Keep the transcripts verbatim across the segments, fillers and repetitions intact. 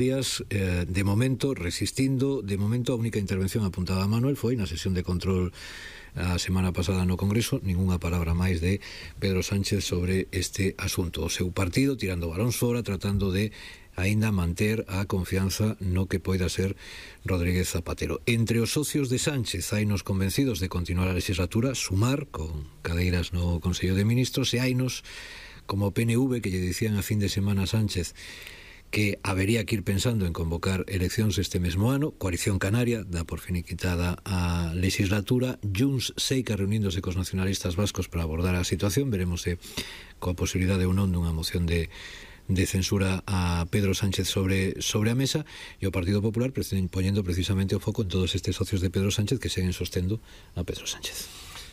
días, eh, de momento, resistindo, de momento a única intervención apuntada a Manuel foi na sesión de control a semana pasada no Congreso, ningunha palabra máis de Pedro Sánchez sobre este asunto. O seu partido tirando balóns fora, tratando de aínda manter a confianza no que poida ser Rodríguez Zapatero. Entre os socios de Sánchez hainos convencidos de continuar a legislatura, sumar con cadeiras no Consello de Ministros, e hainos como o P N V que lle dicían a fin de semana a Sánchez que habería que ir pensando en convocar eleccións este mesmo ano. Coalición Canaria dá por finiquitada a legislatura. Junts seica reuníndose cos nacionalistas vascos para abordar a situación. Veremos se coa posibilidade ou non dunha moción de, de censura a Pedro Sánchez sobre, sobre a mesa, e o Partido Popular poñendo precisamente o foco en todos estes socios de Pedro Sánchez que seguen sostendo a Pedro Sánchez.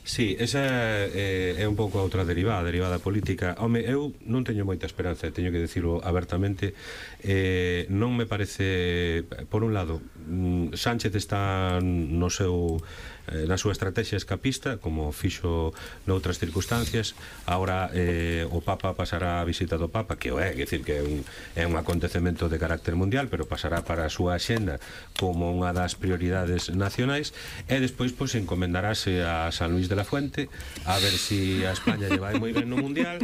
Sí, esa é, é un pouco a outra derivada, a derivada política. Home, eu non teño moita esperanza, teño que dicirlo abertamente. Eh, non me parece, por un lado, Sánchez está no seu na súa estrategia escapista, como fixo noutras circunstancias. Agora eh, o Papa pasará a visita do Papa, que o é, que decir que é un, é un acontecemento de carácter mundial, pero pasará para a súa axenda como unha das prioridades nacionais, e despois pois encomendarase a San Luis de la Fuente a ver si a España lle vai moi ben no mundial,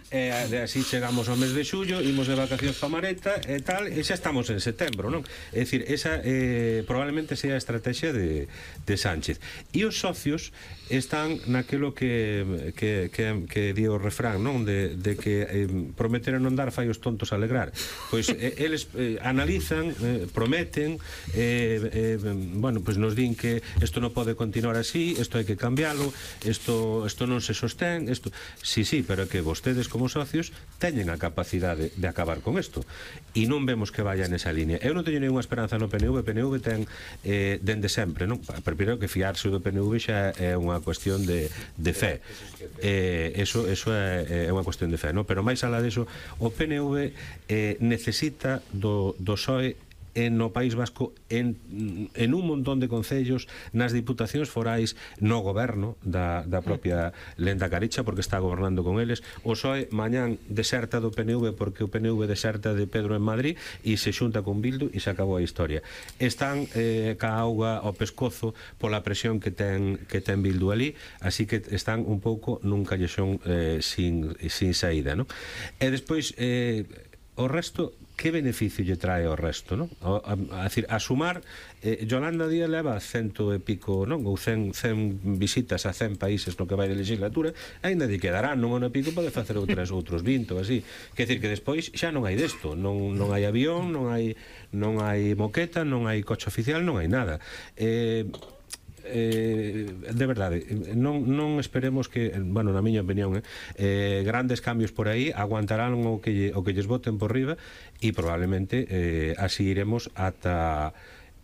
e así chegamos ao mes de xullo, imos de vacacións pa Mareta e tal, e xa estamos en setembro, non? É dicir, esa eh, probablemente sea a estrategia de, de Sánchez. E os socios están naquilo que que, que, que di o refrán, non? De, de que eh, prometer non dar fai os tontos alegrar. Pois eh, eles eh, analizan, eh, prometen, eh, eh, bueno, pois nos din que isto non pode continuar así, isto hai que cambiálo, isto, isto non se sostén, isto... Sí, sí, pero que vostedes como socios teñen a capacidade de acabar con isto, e non vemos que vaya nesa línea. Eu non teño ninguna esperanza no P N V. O P N V ten eh, dende sempre, non? Primeiro que fiarse do P N V xa é unha cuestión de, de fe. Eh, eso, eso é, é unha cuestión de fe, non? Pero máis alá deso, o P N V eh, necesita do, do P S O E en no País Vasco, en, en un montón de concellos, nas diputacións forais, no goberno da, da propia Lenda Caricha, porque está gobernando con eles. O P S O E mañán deserta do P N V porque o P N V deserta de Pedro en Madrid e se xunta con Bildu e se acabou a historia. Están eh, ca auga ao pescozo pola presión que ten, que ten Bildu ali, así que están un pouco nun callexón eh, sin, sin saída, non? E despois eh, o resto, que beneficio lle trae ao resto, non? A, a, a, decir, a sumar, eh, Yolanda Díaz leva cento e pico, non? Ou cen, cen visitas a cen países no que vai de legislatura, ainda lle quedarán non ano e pico pode facer outras, outros vinte ou así. Quer decir que despois xa non hai desto, non, non hai avión, non hai, non hai moqueta, non hai coche oficial, non hai nada. Eh... Eh, de verdade, non, non esperemos que, bueno, na miña opinión, eh, eh, grandes cambios por aí, aguantarán o que, lle, o que lles voten por riba, e probablemente eh, así iremos ata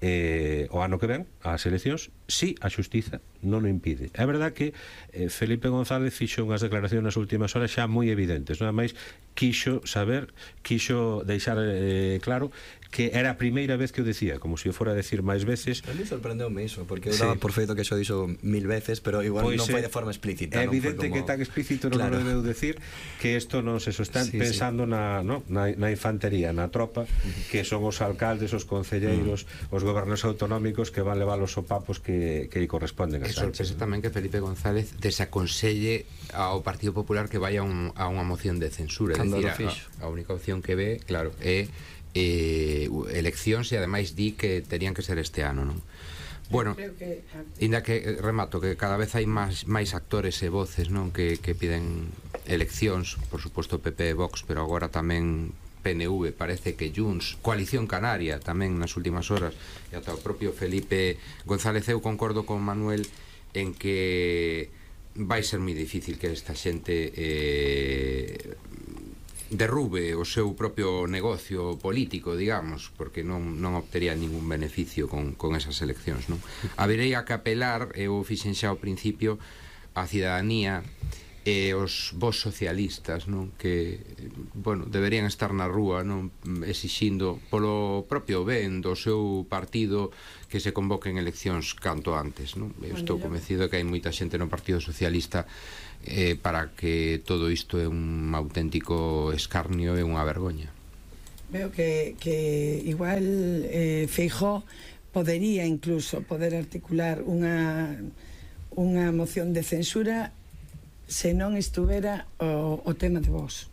eh, o ano que ven, as eleccións, si a xustiza non o impide. É verdad que eh, Felipe González fixo unhas declaracións nas últimas horas xa moi evidentes, nada máis quixo saber, quixo deixar eh, claro que era a primeira vez que o decía, como se si o fora a decir máis veces. A mí sorprendeume iso, porque eu daba sí. por feito que xo dixo mil veces, pero igual pues non foi de forma explícita. É evidente como... que tan explícito non claro. lo debeu decir, que isto non se sostén sí, pensando sí. Na, no, na, na infantería, na tropa, uh-huh. que son os alcaldes, os concelleiros, uh-huh. os gobernos autonómicos que van levar os sopapos que, que corresponden a Sánchez. É sorpresa tamén que Felipe González desaconselle ao Partido Popular que vaya un, a unha moción de censura. É dicir, a, a única opción que ve, claro, é eh, eleccións, e ademais di que terían que ser este ano, non? Bueno, ainda que remato que cada vez hai máis, máis actores e voces, non, que, que piden eleccións, por suposto P P e Vox, pero agora tamén P N V, parece que Junts, Coalición Canaria tamén nas últimas horas, e ata o propio Felipe González. Eu concordo con Manuel en que vai ser moi difícil que esta xente eh, derrube o seu propio negocio político, digamos, porque non, non obtería ningún beneficio con, con esas eleccións, non? Habería que apelar, eu fixen xa ao principio, a cidadanía e os vos socialistas, non? Que, bueno, deberían estar na rúa, non? Exixindo polo propio ben do seu partido que se convoquen eleccións canto antes, non? Eu estou convencido de que hai moita xente no Partido Socialista eh, para que todo isto é un auténtico escarnio e unha vergoña. Veo que, que igual eh, Feijóo podería incluso poder articular unha unha moción de censura se non estuvera o, o tema de Vox.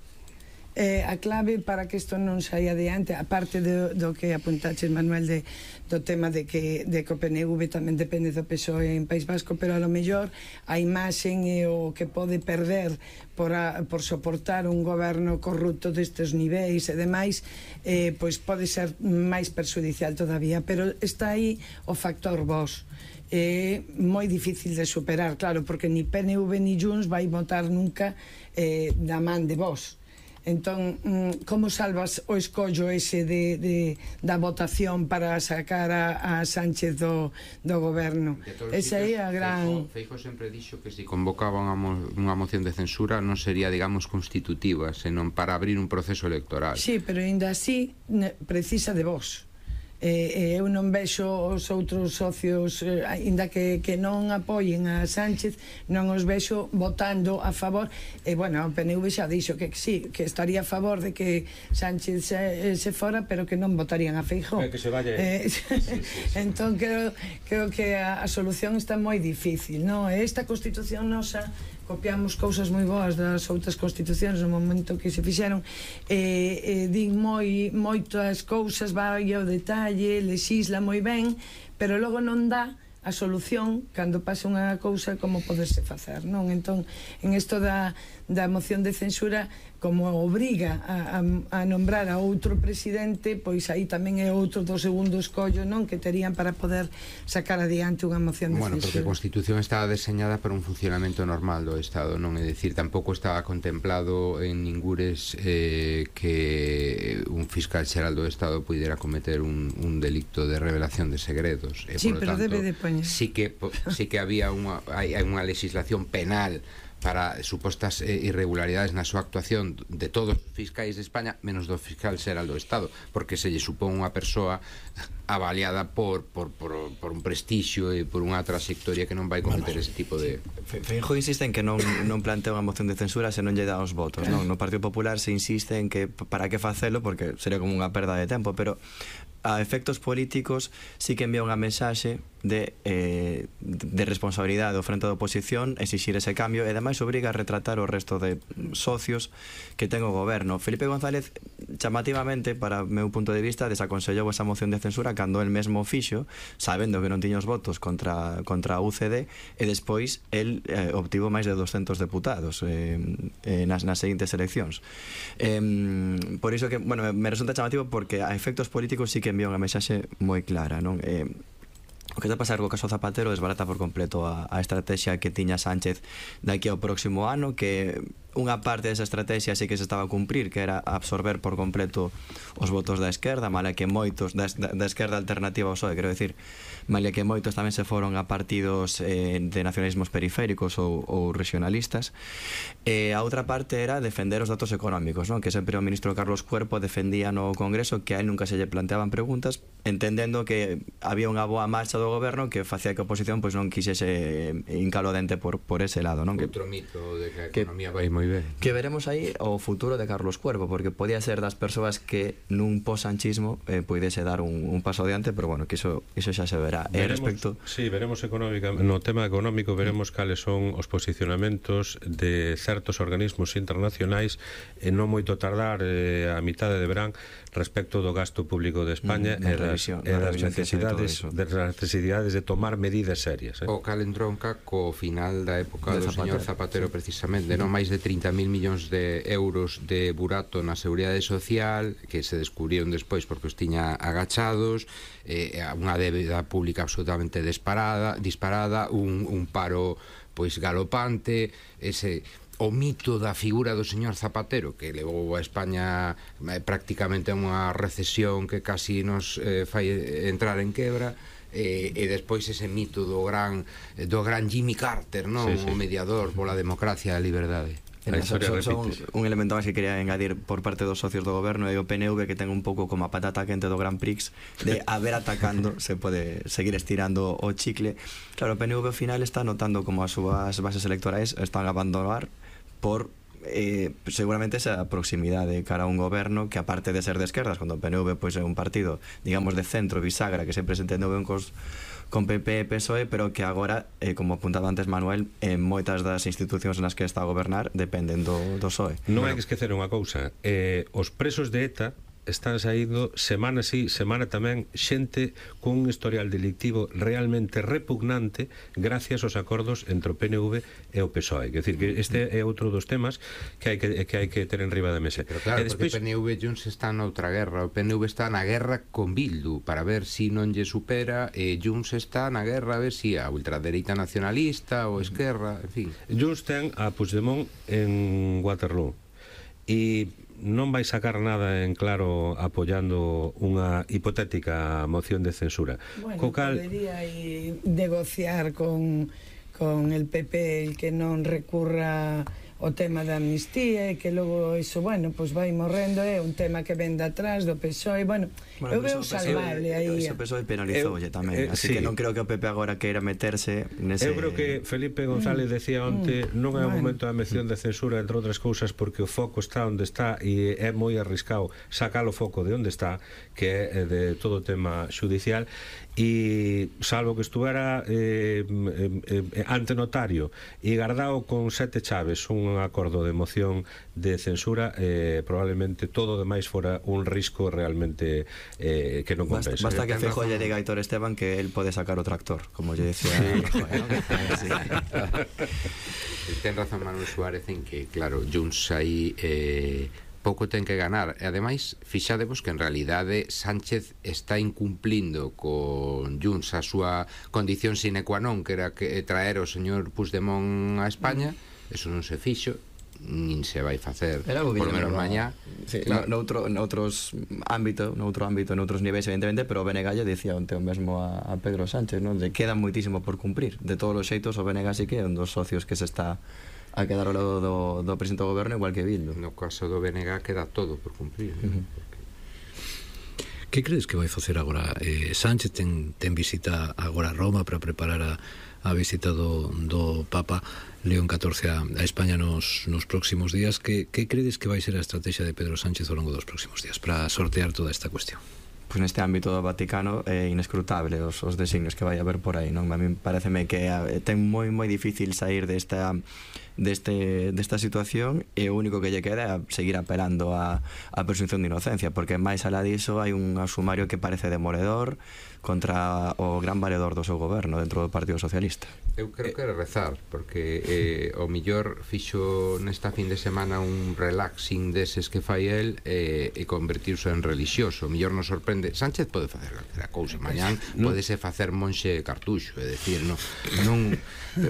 Eh, a clave para que isto non saia adiante, aparte do, do que apuntaches, Manuel, de, do tema de que, de que o P N V tamén depende do P S O E en País Vasco, pero a lo mellor a imaxen e o que pode perder por, a, por soportar un goberno corrupto destes niveis e demais, eh, pois pode ser máis perjudicial todavía, pero está aí o factor Vox. É moi difícil de superar, claro, porque ni P N V ni Junts vai votar nunca eh, da man de Vox. Entón, como salvas o escollo ese de, de, da votación para sacar a, a Sánchez do, do goberno? Esa é a gran... Feijóo sempre dixo que se convocaba unha, mo, unha moción de censura non sería, digamos, constitutiva, senón para abrir un proceso electoral. Sí, pero ainda así precisa de vos. Eh, eu non vexo os outros socios, eh, ainda que, que non apoien a Sánchez, non os vexo votando a favor. E, eh, bueno, o P N V xa dixo que sí, que estaría a favor de que Sánchez se, se fora, pero que non votarían a Feijóo. Que se vaya. Eh, sí, sí, sí. Entón, creo, creo que a, a solución está moi difícil, non? Esta Constitución nosa, copiamos cousas moi boas das outras constitucións no momento que se fixeron, e, e din moi moitas cousas, vai ao detalle, lexisla moi ben, pero logo non dá a solución cando pasa unha cousa como poderse facer, non? Entón, en isto da, da moción de censura, como obriga a, a, a nombrar a outro presidente, pois aí tamén é outro do segundo escollo, non? Que terían para poder sacar adiante unha moción de bueno, censura. Bueno, porque a Constitución estaba deseñada para un funcionamento normal do Estado, non? É dicir, tampouco estaba contemplado en ningures eh, que un fiscal xeral do Estado puidera cometer un, un delicto de revelación de segredos. E, sí, por pero tanto, debe de poñer. Sí que, sí que había unha, hai unha legislación penal para supostas eh, irregularidades na súa actuación de todos os fiscais de España, menos do fiscal xeral do Estado, porque se lle supón unha persoa avaliada por, por, por, por un prestixio e por unha trayectoria que non vai cometer ese tipo de... Feijóo insiste en que non, non plantea unha moción de censura se non lle dá os votos, non? No Partido Popular se insiste en que para que facelo, porque sería como unha perda de tempo, pero a efectos políticos sí que envía unha mensaxe de, eh, de responsabilidade do frente da oposición, exixir ese cambio, e ademais obriga a retratar o resto de socios que ten o goberno. Felipe González, chamativamente, para o meu punto de vista, desaconsellou esa moción de censura cando el mesmo fixo, sabendo que non tiña os votos contra, contra a U C D, e despois el eh, obtivo máis de doscentos deputados eh, eh, nas, nas seguintes eleccións. Eh, por iso que, bueno, me resulta chamativo porque a efectos políticos sí que envía unha mensaxe moi clara, non? Eh, o que está a pasar co caso Zapatero desbarata por completo a, a estrategia que tiña Sánchez daqui ao próximo ano, que unha parte desa estrategia sí que se estaba a cumprir, que era absorber por completo os votos da esquerda, mala que moitos da, da esquerda alternativa ao P S O E, quero decir, mala que moitos tamén se foron a partidos eh, de nacionalismos periféricos ou, ou regionalistas. E a outra parte era defender os datos económicos, non? Que sempre o ministro Carlos Cuerpo defendía no Congreso que a él nunca se lle planteaban preguntas, entendendo que había unha boa marcha do goberno que facía que a oposición pois non quixese hincalo dente por, por ese lado, non? Outro mito de que a economía vai moi ben. Que veremos aí o futuro de Carlos Cuervo, porque podía ser das persoas que nun posanchismo eh, poidese dar un, un paso adiante, pero bueno, que iso, iso xa se verá. Veremos, eh, respecto... Sí, veremos económica, no tema económico veremos mm. cales son os posicionamentos de certos organismos internacionais e non moito tardar eh, a mitade de verán respecto do gasto público de España mm, e das, e das necesidades de das necesidades de tomar medidas serias, eh? O cal entronca co final da época do señor Zapatero, precisamente, non máis de trinta mil millóns de euros de burato na Seguridade Social que se descubrieron despois porque os tiña agachados, eh, unha débeda pública absolutamente disparada, disparada un, un paro pois galopante, ese o mito da figura do señor Zapatero que levou a España eh, prácticamente a unha recesión que casi nos eh, fai entrar en quebra. E, e despois ese mito do gran do gran Jimmy Carter, non? Sí, sí. O mediador pola democracia e a liberdade. Son, son un elemento máis que quería engadir por parte dos socios do goberno e o P N V, que ten un pouco como a patata quente do Grand Prix de a ver atacando se pode seguir estirando o chicle. Claro, o P N V ao final está notando como as súas bases electorais están a abandonar por eh, seguramente esa proximidade cara a un goberno que, aparte de ser de esquerdas, cando o P N V pois, é un partido, digamos, de centro, bisagra, que sempre se entendeu ben cos, con P P e P S O E, pero que agora, eh, como apuntaba antes Manuel, en moitas das institucións nas que está a gobernar dependen do, do P S O E. Non hai que esquecer unha cousa, eh, os presos de ETA están saindo semana sí, semana tamén, xente cun historial delictivo realmente repugnante gracias aos acordos entre o P N V e o P S O E. Quer decir, que este é outro dos temas que hai que, que, hai que ter en riba da mesa. Pero claro, e despois, porque o P N V e Junts está noutra guerra. O P N V está na guerra con Bildu para ver si non lle supera, e Junts está na guerra a ver si a ultradereita nacionalista ou esquerra, en fin. Junts ten a Puigdemont en Waterloo e non vai sacar nada en claro apoiando unha hipotética moción de censura. Bueno, Co cal... podería ir negociar con, con el P P el que non recurra o tema da amnistía e que logo iso, bueno, pois vai morrendo, é un tema que ven de atrás do P S O E, bueno, bueno eu veo salvable aí. O P S O E penalizoulle tamén, eh, así sí. que non creo que o P P agora queira meterse nese... Eu creo que Felipe González decía onte, mm, non é o bueno. momento da mención de censura, entre outras cousas, porque o foco está onde está e é moi arriscado sacar o foco de onde está, que é de todo o tema xudicial, e salvo que estuvera eh, eh, eh, ante notario e guardado con sete chaves un acordo de moción de censura, eh, probablemente todo o demais fora un risco realmente eh, que non compensa. Basta, basta que Feijóo lle diga a Aitor Esteban que el pode sacar o tractor, como lle decía Rajoy, ¿no? Sí. Ten razón Manuel Suárez en que, claro, Junts aí eh, pouco ten que ganar, e ademais fixadevos que en realidade Sánchez está incumplindo con Junts a súa condición sine qua non, que era que traer o señor Puigdemont a España. Eso non se fixo, nin se vai facer por lo menos mañá. Sí, claro. noutro, noutros ámbito, noutro ámbito, noutros niveis evidentemente, pero o B N G lle dicía onte o mesmo a, a Pedro Sánchez, non? De queda moitísimo por cumprir. De todos os xeitos, o B N G sí que é un dos socios que se está a quedar ao lado do, do presidente do goberno, igual que Bildu. No caso do B N G queda todo por cumprir, ¿no? Uh-huh. Que crees que vai facer agora? Eh, Sánchez ten, ten visita agora a Roma para preparar a, a visita do, do Papa León catorce a, a España nos, nos próximos días. Que, que credes que vai ser a estrategia de Pedro Sánchez ao longo dos próximos días para sortear toda esta cuestión? Pois neste ámbito do Vaticano é inescrutable os, os designios que vai haber por aí, non? A mí pareceme que eh, ten moi moi difícil sair desta deste desta situación, e o único que lle queda é seguir apelando a, a presunción de inocencia, porque máis alá diso hai un sumario que parece demoledor contra o gran valedor do seu goberno dentro do Partido Socialista. Eu creo que era rezar, porque eh, o millor fixo nesta fin de semana un relaxing deses que fai el eh, e convertirse en religioso. O millor nos sorprende. Sánchez pode facer calquera cousa, mañán podese facer monxe cartuxo, é dicir, non, non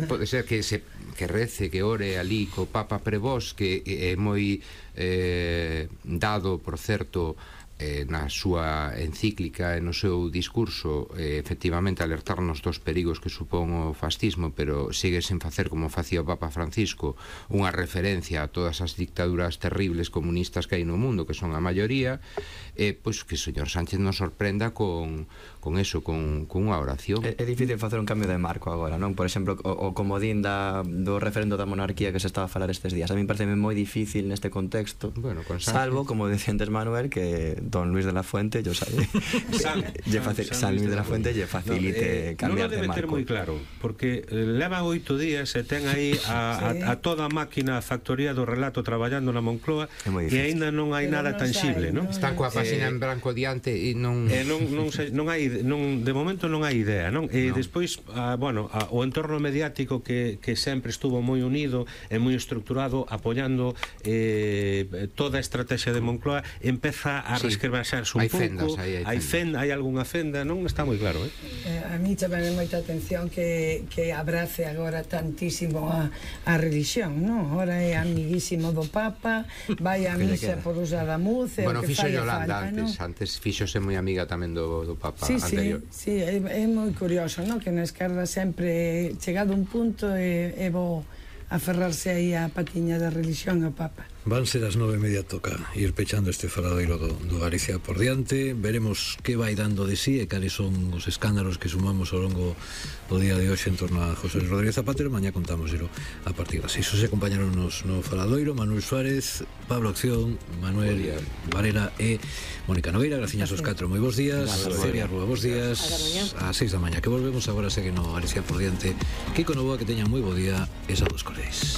pode ser que se que rece, que ore ali co Papa Prevós, que é moi eh, dado, por certo, eh, na súa encíclica e no seu discurso, eh, efectivamente alertarnos dos perigos que supón o fascismo, pero sigue sen facer, como facía o Papa Francisco, unha referencia a todas as dictaduras terribles comunistas que hai no mundo, que son a maioría. Eh, pois que o señor Sánchez nos sorprenda con, con eso, con, con unha oración. É, é difícil facer un cambio de marco agora, non? Por exemplo, o, o comodín da, do referendo da monarquía que se estaba a falar estes días. A mí parece moi difícil neste contexto, bueno, con salvo, como decía antes Manuel, que don Luis de la Fuente, yo sabe, San, lle face, San, San Luis de la Fuente lle facilite no, eh, cambiar de marco. Non o debe ter moi claro, porque eh, leva oito días e ten aí a, sí. a, a toda a máquina, a factoría do relato traballando na Moncloa, e aínda non hai pero nada tangible, non? Está coa página en branco diante e non eh, non non, se, non hai non de momento non hai idea, non? E no. despois ah, bueno, ah, o entorno mediático que, que sempre estuvo moi unido e moi estructurado apoiando eh, toda a estrategia de Moncloa empeza a sí. resquebraxarse un hai pouco. Fendas, hai, hai, hai fenda, hai algunha fenda, non está moi claro, eh? eh a mí chamame moita atención que, que abrace agora tantísimo a, a religión, non? Agora é amiguísimo do Papa, vai a misa por usada muz, bueno, que fixo fai Yolanda falta, antes, ¿no? antes fíxose moi amiga tamén do, do Papa sí, anterior. Sí, sí, é, é moi curioso, ¿no? Que na esquerda sempre chegado un punto é, é bo aferrarse aí a patiña da religión ao Papa. Van ser as nove e media, toca ir pechando este faladoiro do, do Galicia por diante. Veremos que vai dando de sí e cales son os escándalos que sumamos ao longo do día de hoxe en torno a José Rodríguez Zapatero. Mañá contámoselo a partir das seis. Os acompañaron nos no faladoiro Manuel Suárez, Pablo Acción, Manuel Varela e Mónica Nogueira. Graciñas aos catro, moi bons días. Celia Rúa, bons días. A seis da mañá que volvemos agora. Segue no Galicia por diante. Kiko Novoa, que teñan moi bo día. Esa dos coleis.